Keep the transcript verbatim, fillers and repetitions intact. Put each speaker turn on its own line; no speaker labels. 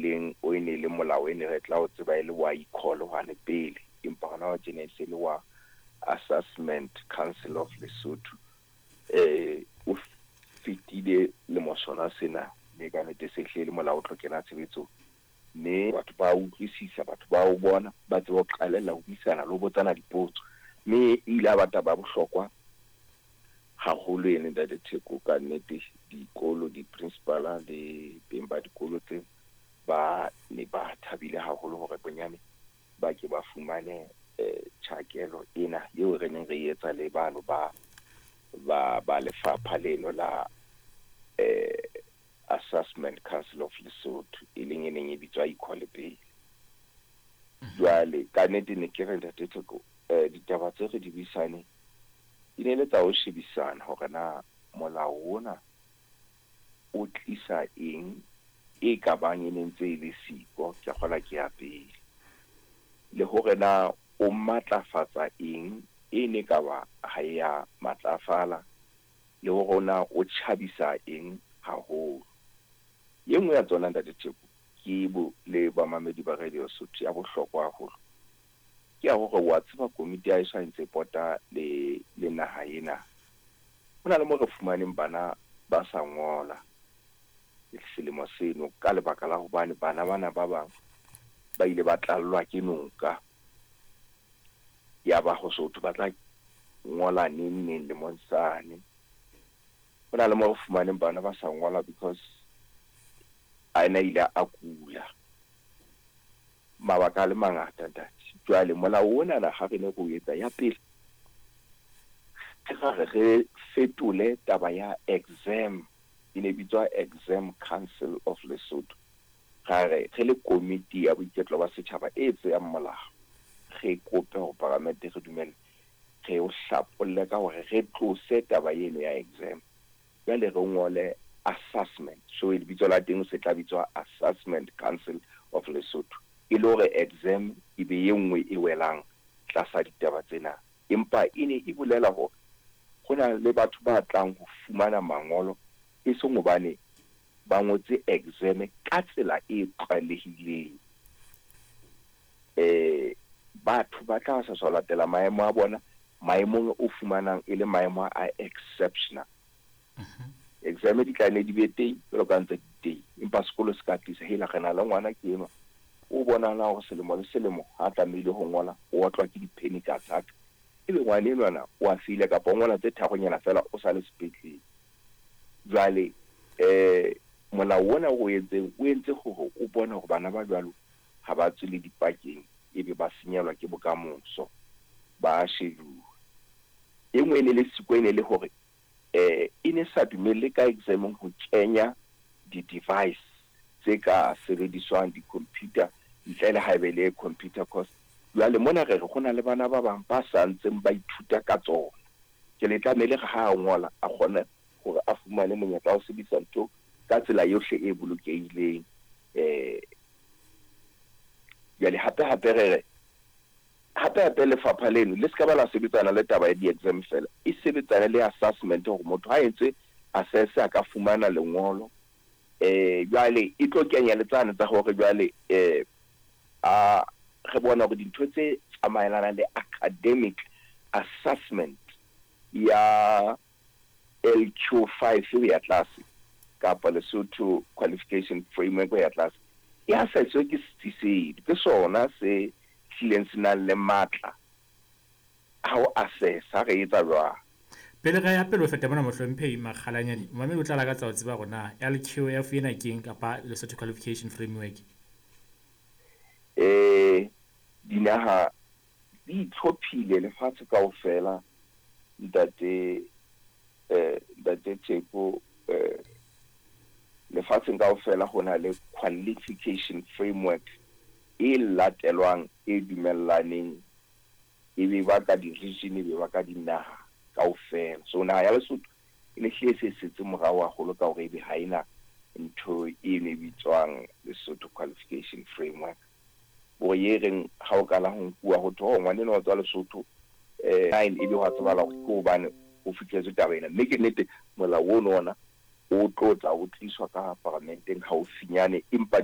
leng o e ne le molao e ne re tla o tseba e le wa e-call hwane pele, empa hona wa tjena e se le wa Assessment Council of Lesotho. Eh o fetile lemo sona sena, mme ka nnete se hle le molao o tlo kena tshebetsong, mme batho ba utlwisisa, batho ba o bona, ba tseba ho qalella ho buisana le ho botsana dipotso, mme e ile ya ba taba ya bohlokwa haholo ene, Ntate Theko. Ka nnete dikolo, di-principal le beng ba dikolo tse ba ne ba thabile haholo hore bonyane ba ke ba fumane eh tjhakelo ena eo re neng re etsa le bano ba ba ba lefapha leno la eh Assessment Council of Lesotho, e leng e neng e bitswa e-call pele. Jwale ka nnete ne ke re, Ntate Theko, eh ditaba tse re di buisaneng di ne le tsa ho shebisana hore na molao ona o tlisa eng e ka bang e ne ntse e le siko, ke kgola ke ya pele, le hore na o matlafatsa eng e ne ka ba ha e ya matlafala, le hore na o tjhabisa eng haholo. E nngwe ya tsona, Ntate Theko, ke bo le bamamedi ba Radio Sotho, ya bohlokwa haholo ke ya hore wa tseba komiti ya heso ha e ntse e pota le le naha ena, ho na le mo re fumaneng bana ba sa ngola selemo seno ka lebaka la hobane bana bana ba bang ba ile ba tlallwa ke noka, ya ba ho so thwe ba tla ngola neng neng lemong sane. Ho na le mo re fumaneng bana ba sa ngola because a ena ile a kula, mabaka a le mangata, ntate. Jwale molao onana ha re ne re o etsa ya pele, re re re fetole taba ya exam, e ne bitswa Exam Council of Lesotho. Ra re re le komiti ya boiketlo ba setjhaba e tseyang molao, re kope hore paramente re dumelle re o hlapolle ka hore re tlose taba eno ya exam, jwale re ngole assessment. So lebitso la teng se tla bitswa Assessment Council of Lesotho, e le hore exam e be e nngwe e welang tlasa ditaba tsena. Empa e ne e bolela hore ho na le batho ba tlang ho fumana mangolo e seng hobane ba ngotse exam ka tsela e tlwaelehileng. Eh batho ba tla sa sa latela maemo a bona maemong o fumanang e le maemo a exceptional. Exam di tla ne di be teng jwalo ka ntse di teng, empa sekolo se ka tlisa hela re na le ngwana ke enwa o bonahala hore selemo le selemo ha tlamehile ho ngola o otlwa ke di-panic attack, ebe ngwana enwana o a file kapa o ngola tse tharonyana fela o sa le sepetlele. Jwale eh molao ona o entseng o entse hore o bone hore bana ba jwalo ha ba tswe le dipakeng, ebe ba senyelwa ke bokamoso, ba shejuwa. E nngwe e ne le siko e ne le hore eh e ne sa dumelle ka examong ho kenya di-device tse ka sebediswang, di-computer, ntle le haebe le computer course. Jwale mona re re ho na le bana ba bang ba sa ntseng ba ithuta ka tsona, ke le tlamehile re ha a ngola a kgone hore a fumane monyetla wa ho sebedisa ntho ka tsela yohle e bolokehileng. Eh jwale hape hape re re hape hape lefapha leno le ska ba la sebetsana le taba ya di-exam fela, e sebetsane le assessment hore motho ha entse assess a ka fumana lengolo. Eh jwale e tlo kenya le tsane tsa hore jwale eh a re bona hore dintho tse tsamaelanang le academic assessment ya L Q five ho ya tlase kapa Lesotho Qualification Framework ho ya tlase e assesswe ke setsi seno, ke sona se hlileng se nang le matla a ho assess ha re etsa jwang.
Pele re ya pele ho feta mona, Mohlomphehi Makgalanyane, momamedi o tla lakatsa ho tseba hore na L Q F ena keng kapa Lesotho Qualification Framework.
Eh dinaha di itlhophile lefatshe kaofela, ntate eh ntate Theko. eh lefatsheng kaofela ho na le qualification framework e latelwang, e dumellaneng, e be ba ka di-region, e be ba ka dinaha kaofela. So naha ya Lesotho e ne hlile se setse morao haholo ka hore ebe ha ena ntho e ne bitswang Lesotho Qualification Framework, hore e reng ha o qala ho nkuwa ho thwe oh ngwana enwa o tswa Lesotho eh nine, ebe hwa tsebahala hore ke hobane ho fihletswe taba ena. Mme ke nnete molao ono ona o tlo tla o tliswa ka paramenteng haufinyane, empa